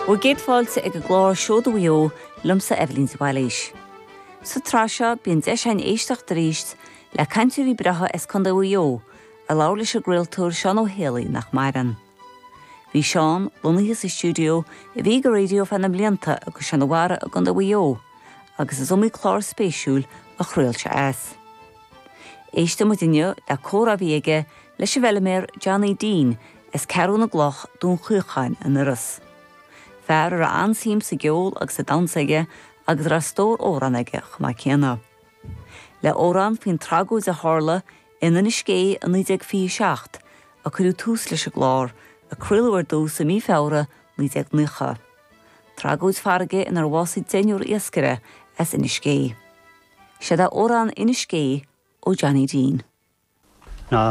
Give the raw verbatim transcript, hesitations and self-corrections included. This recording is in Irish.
Bhur gcéad fáilte ag an gclár Seoda Mhaigh Eo liomsa Eibhlín de Bhailís. Sa tsraith seo bíonn deis againn éisteacht arís le cainteoirí breátha as Contae Mhaigh Eo a labhair leis an gcraoltóir Seán Ó Héalaí nach maireann. Bhí Seán lonnaithe sa stiúideo a bhí ag an raidió feadh na mblianta agus Seán Mhara i gContae Mhaigh Eo, agus is iomaí clár spéisiúil a chraol sé as. Éistfidh muid inniu le comhrá a bhí aige leis an bhfeilméar Johnny Dean as Ceathrú na gCloch Dún Chaocháin in Iorras. Fear a raibh an-suim sa gceol agus sa damhsa aige agus raibh stór amhrán aige chomh maith céanna. Le amhrán faoin tragóid a tharla in Inis Gé i naoi déag fiche seacht a cuireadh tús leis an gclár a craoladh ar dtús i mí Feabhra naoi déag nócha. Tragóid farraige inar bhásaigh deichniúr iascaire as Inis Gé. Seo é amhrán Inis Gé ó Johnny Dean. Ná